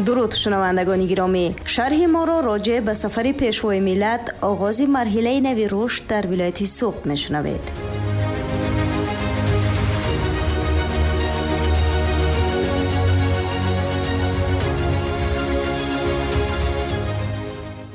Дуруд, шунавандагони гиромӣ. Шарҳи моро роҷеъ ба сафари Пешвои миллат, оғози марҳилаи нави рушд дар вилояти Суғд мешунавед.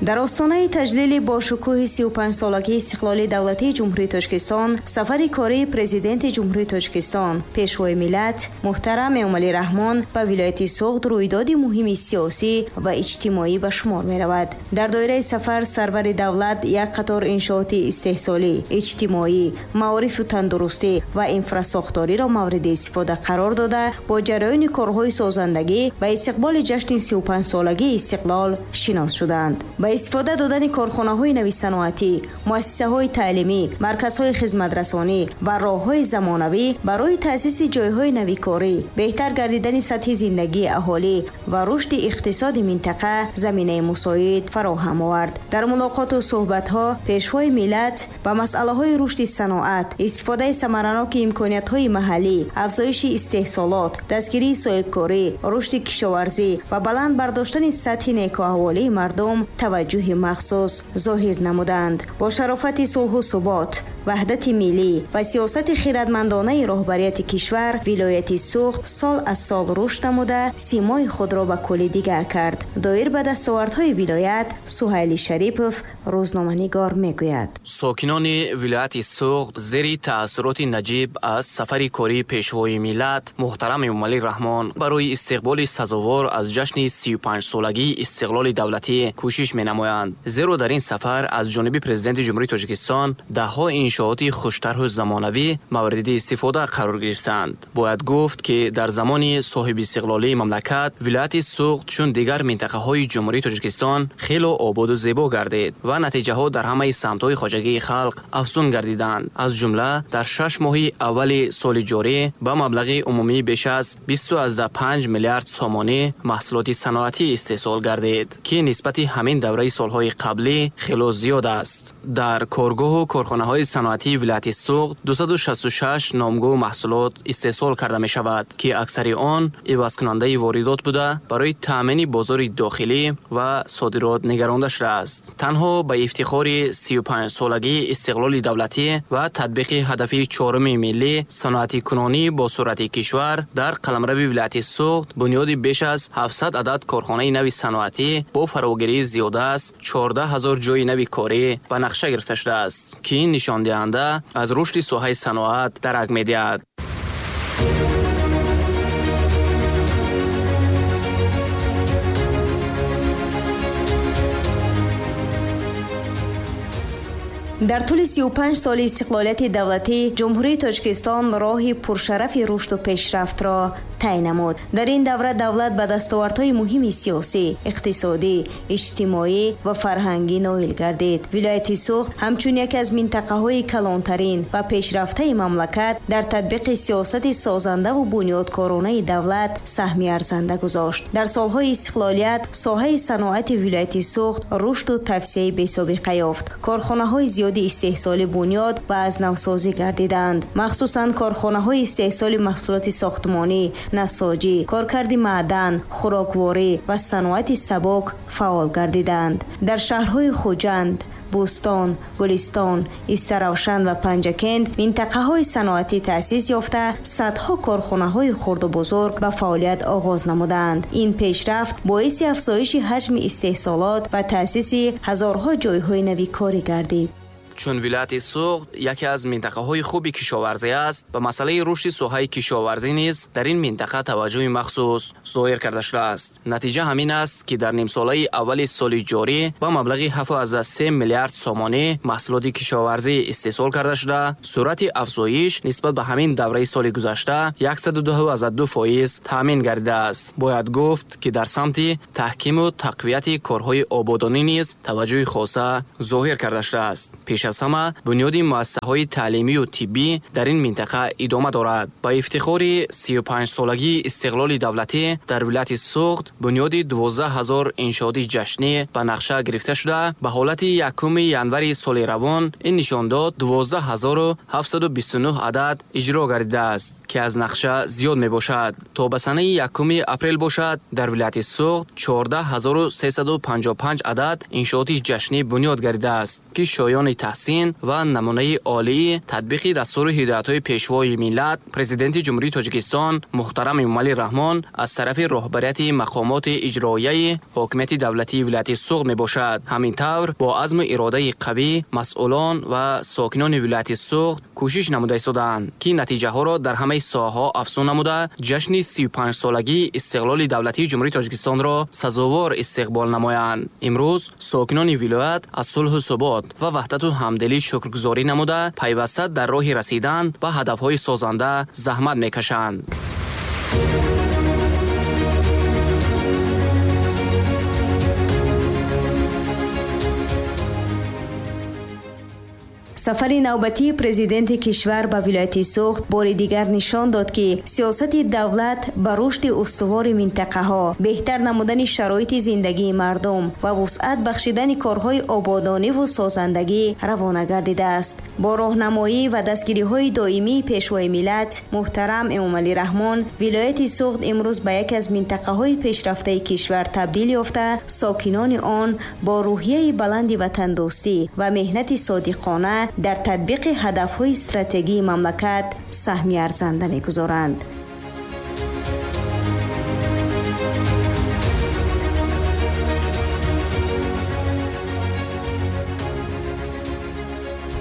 Дар остонаи таҷлили бошукӯҳи 35-солагии истиқлоли давлатии Ҷумҳурии Тоҷикистон, сафари кории Президенти Ҷумҳурии Тоҷикистон, Пешвои миллат муҳтарам Эмомалӣ Раҳмон ба вилояти Суғд рӯйдоди муҳими сиёсӣ ва иҷтимоӣ ба шумор меравад. Дар доираи сафар сарвари давлат як қатор иншооти истеҳсолӣ, иҷтимоӣ, маорифу тандурустӣ ва инфрасохториро мавриди истифода қарор дода, бо ҷараёни корҳои созандагӣ ба истиқболи ҷашни 35-солагии истиқлол шинос шуданд. Ба истифода додани корхонаҳои нави саноатӣ, муассисаҳои таълимӣ, марказҳои хизматрасонӣ ва роҳҳои замонавӣ барои таъсиси ҷойҳои нави корӣ, беҳтар гардидани сатҳи зиндагии аҳолӣ ва рушди иқтисоди минтақа заминаи мусоид фароҳам овард. Дар мулоқоту суҳбатҳо Пешвои миллат ба масъалаҳои рушди саноат, истифодаи самараноки имкониятҳои маҳаллӣ, афзоиши истеҳсолот, дастгирии соҳибкорӣ, рушди кишоварзӣ ва баланд бардоштани сатҳи некӯаҳволии мардум таваҷҷӯҳи махсус зоҳир намуданд. Бо шарофати сулҳу субот, ваҳдати миллӣ ва сиёсати хирадмандонаи роҳбарияти кишвар, вилояти Суғд сол аз сол рушд намуда, симои худро ба кулли дигар кард. Доир ба дастовардҳои вилоят Суҳайли Шарипов, рӯзноманигор, мегӯяд: Сокинони вилояти Суғд зери таассуроти наҷиб аз сафари кории Пешвои миллат муҳтарам Эмомалӣ Раҳмон барои истиқболи сазовор аз ҷашни 35-солагии истиқлоли давлатӣ кӯшиш менамоянд. Зеро дар ин сафар аз ҷониби Президенти Ҷумҳурии Тоҷикистон даҳҳо иншооти хуштарҳу замонавӣ мавриди истифода қарор гирифтанд. Бояд гуфт, ки дар замони соҳибистиқлолии мамлакат вилояти Суғд чун дигар минтақаҳои Ҷумҳурии Тоҷикистон хело ободу зебо гардид ва натиҷаҳо дар ҳамаи самтҳои хоҷагии халқ афзун гардиданд. Аз ҷумла дар 6 моҳи аввали соли ҷорӣ ба маблағи умумии беш аз 25 миллиард сомонӣ маҳсулоти саноатӣ истеҳсол гардид, ки нисбати ҳамин давраи солҳои қаблӣ хело зиёд аст. Дар коргоҳу корхонаҳои саноатии вилояти Суғд 266 номгӯ маҳсулот истеҳсол карда мешавад, ки аксари он ивазкунандаи воридот буда, барои таъмини бозори дохилӣ ва содирот нигаронда шудааст. Танҳо ба ифтихори 35-солагии истиқлоли давлатӣ ва татбиқи ҳадафи чоруми миллӣ, саноатикунонӣ бо суръати кишвар, дар қаламрави вилояти Суғд бунёди беш аз 700 адад корхонаи нави саноатӣ бо фарогирии зиёда аз 14 ҳазор ҷойи нави корӣ ба нақша гирифта шудааст, ки ин нишондиҳанда аз рушди соҳаи саноат дарак медиҳад. Дар тӯли 35 соли истиқлолияти давлатӣ Ҷумҳурии Тоҷикистон роҳи пуршарафи рушду пешрафтро тай намуд. Дар ин давра давлат ба дастовардҳои муҳими сиёсӣ, иқтисодӣ, иҷтимоӣ ва фарҳангӣ ноил гардид. Вилояти Суғд ҳамчун яке аз минтақаҳои калонтарин ва пешрафтаи мамлакат дар татбиқи сиёсати созандаву бунёдкоронаи давлат саҳми арзанда гузошт. Дар солҳои истиқлолият соҳаи саноати вилояти Суғд рушду тавсеаи бесобиқа ёфт. Корхонаҳои зиёди истеҳсоли бунёд ва аз навсозӣ гардиданд. Махсусан корхонаҳои истеҳсоли маҳсулоти сохтмонӣ, насоҷӣ, коркарди маъдан, хӯрокворӣ ва саноати сабок фаъол гардиданд. Дар шаҳрҳои Хуҷанд, Бӯстон, Гулистон, Истаравшан ва Панҷакент минтақаҳои саноатӣ таъсис ёфта, садҳо корхонаҳои хурду бузург ба фаъолият оғоз намуданд. Ин пешрафт боиси афзоиши ҳаҷми истеҳсолот ва таъсиси ҳазорҳо ҷойҳои нави корӣ гардид. Чун вилояти Суғд яке аз минтақаҳои хуби кишоварзӣ аст, ба масъалаи рушди соҳаи кишоварзӣ низ дар ин минтақа таваҷҷӯҳи махсус зоҳир карда шудааст. Натиҷа ҳамин аст, ки дар нимсолаи аввали соли ҷорӣ ба маблағи 7,3 миллиард сомонӣ маҳсулоти кишоварзӣ истеҳсол карда шуда, суръати афзоиш нисбат ба ҳамин давраи соли гузашта 102,2% таъмин гардидааст. Бояд гуфт, ки дар самти таҳкиму тақвияти корҳои ободонӣ низ таваҷҷӯҳи хоса зоҳир карда шудааст. Пеш Пеш аз ҳама бунёди муассисаҳои таълимию тиббӣ дар ин минтақа идома дорад. Ба ифтихори 35-солагии истиқлоли давлатӣ дар вилояти Суғд бунёди 12 ҳазор иншооти ҷашнӣ ба нақша гирифта шуда, ба ҳолати 1 январи соли равон ин нишондод 12729 адад иҷро гардидааст, ки аз нақша зиёд мебошад. То ба санаи 1 апрел бошад, дар вилояти Суғд 14355 адад иншооти ҷашнӣ бунёд гардидааст, ки шоёни таҳсин ва намунаи олии татбиқи дастуру ҳидоятҳои Пешвои миллат, Президенти Ҷумҳурии Тоҷикистон муҳтарам Эмомалӣ Раҳмон аз тарафи роҳбарияти мақомоти иҷроияи ҳокимияти давлатии вилояти Суғд мебошад. Ҳамин тавр бо азму иродаи қавӣ масъулон ва сокинони вилояти Суғд кӯшиш намуда истодаанд, ки натиҷаҳоро дар ҳамаи соҳаҳо афзун намуда, ҷашни 35-солагии истиқлоли давлатии Ҷумҳурии Тоҷикистонро сазовор истиқбол намоянд. Имрӯз сокинони вилоят аз сулҳу субот ва ваҳдату ҳамдилӣ шукргузорӣ намуда, пайваста дар роҳи расидан ба ҳадафҳои созанда заҳмат мекашанд. Сафари навбатии президенти кишвар ба вилояти Суғд бори дигар нишон дод, ки сиёсати давлат ба рушди устувори минтақаҳо, беҳтар намудани шароити зиндагии мардум ва вусъат бахшидани корҳои ободониву созандагӣ равона гардидааст. Бо роҳнамоӣ ва дастгириҳои доимии Пешвои миллат муҳтарам Эмомалӣ Раҳмон, вилояти Суғд имрӯз ба яке аз минтақаҳои пешрафтаи кишвар табдил ёфта, сокинони он бо рӯҳияи баланди ватандӯстӣ ва меҳнати содиқона дар татбиқи ҳадафҳои стратегии мамлакат саҳми арзанда мегузоранд.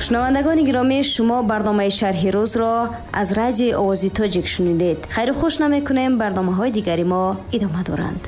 Шунавандагони гиромӣ, шумо барномаи шарҳи рӯзро аз радиои Овози Тоҷик шунидед. Хайру хуш намекунем, барномаҳои дигари мо идома доранд.